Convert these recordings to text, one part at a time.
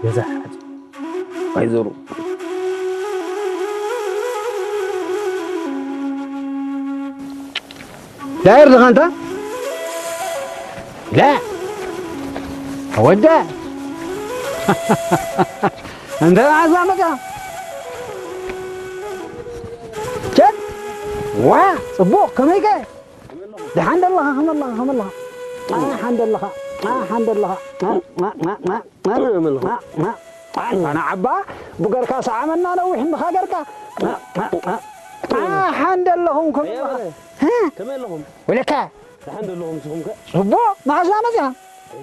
ገዛ ሓጺ። ኣይዞሩ። ዳይር ድኻ እንታ? ላ። ወደ። እንተ መዓዛ መጻ? ቸክ። ዋ፣ ጽቡቕ፣ ከመይከ? ደሓን ደለኻ፣ ከመለኻ፣ ከመለኻ? ደሓን ደለኻ፣ ደሓን ደለኻ? ኣነ ዓባ ብገርካ ሰዓመና ነዊሕ እንድኻ ገርካ። ኣሓን ደለኹም ከመለኻ? ከመይ ኣለኹም? ወለካ። ደሓን ደለኹም ንስኹም ከ? ጽቡቕ፣ መዓዝ መጽያ?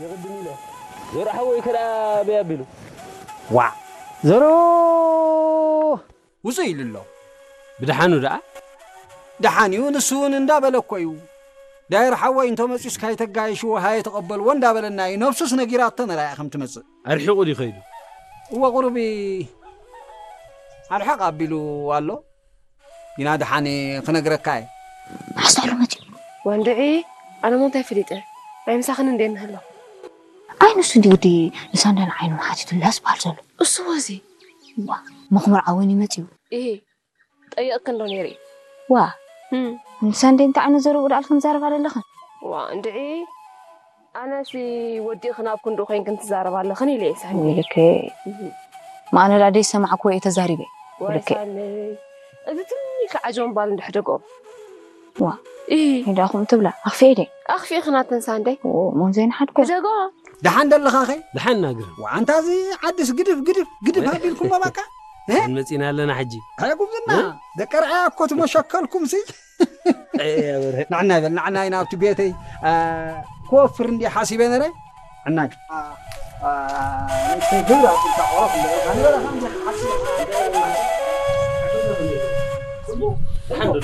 የቕድም ኢለ። ዘርዓ ወይ ከዳ በይ ኣቢሉ። ዋ፣ ዘሮ ውጹእ ኢሉ ኣሎ። ብደሓኑ ደኣ? ደሓን እዩ፣ ንሱ እውን እንዳበለ እኮ እዩ። ዳይር ሓወይ እንተ መጺኡስ ካይተጋየሽዎ ሃየ ተቐበልዎ እንዳበለና እዩ። ነብሱስ ነጊራቶ ነራያ ከም ትመጽእ። ኣርሒቑ ድዩ ከይዱ? እወ፣ ቁሩብ ኣርሓቕ ኣቢሉ ኣሎ። ግና ደሓን ክነግረካ እየ። መዓስ ኣሎ መጺኡ? ወንድዒ፣ ኣነ ሞ እንታይ ፈሊጠ? ናይ ምሳኽን እንዴ ንህሎ? ኣይ፣ ንሱ እንዲ ግዲ ንሳንዳን ዓይኑ ሓቲቱላስ በሃል ዘሎ። እሱ ወዚ? ዋ፣ መኽመር ዓወን እዩ መጺኡ። እሂ፣ ጠይቕክን ዶ ነይረ? ዋ፣ እም። ንሳንዴ እንታይ ዓይነት ዘረብኡ ደኣልክን ትዛረባ ዘለኽን? ዋ፣ እንድዒ፣ ኣነሲ ወዲእኽን ኣብ ክንድኡ ኮይንክን ትዛረባ ኣለኽን ኢለ እየ ሳኒ። ልክዕ። እም። ማእነ ደኣ ደይሰማዕክዎ እየ ተዛሪበ። ዋይ ልክዕ። ሳኒ፣ እዚ ትንሽ ዓጀውን ባል እንድሕደጎ። ዋ፣ እይ። ኢዳኹም ትብላ፣ ኣኽፊኤ ደይ? ኣኽፊእኽን ኣተን ሳንደይ። ኦ፣ ሞን ዘይንሓድኮ። ሕደጎ። ደሓን ደለኻ ኸ? ደሓን ናግር። ዋንታ እዚ ዓድስ ግድፍ፣ ግድፍ፣ ግድፍ ኣቢልኩሞ ባካ? እ? መን መጺና ኣለና ሕጂ? ኣይ ጉብዝና፣ እ? ደቂ ርኣያ እኮ ትመሸከልኩም ሲ። ኣይ፣ ኣበረ። ንዕና ይበል፣ ንዕና ኢና ኣብቲ ቤተይ፣ አ፣ ክወፍር እንዲ ሓሲበ ነረ። ዕናይ። አ፣ አ፣ ንእሽተይ ግር ኣቢልካ ቆረፍ እንደ በልካ ንበላ፣ ከምዚ ሓሲብ። ደሓን ዶ?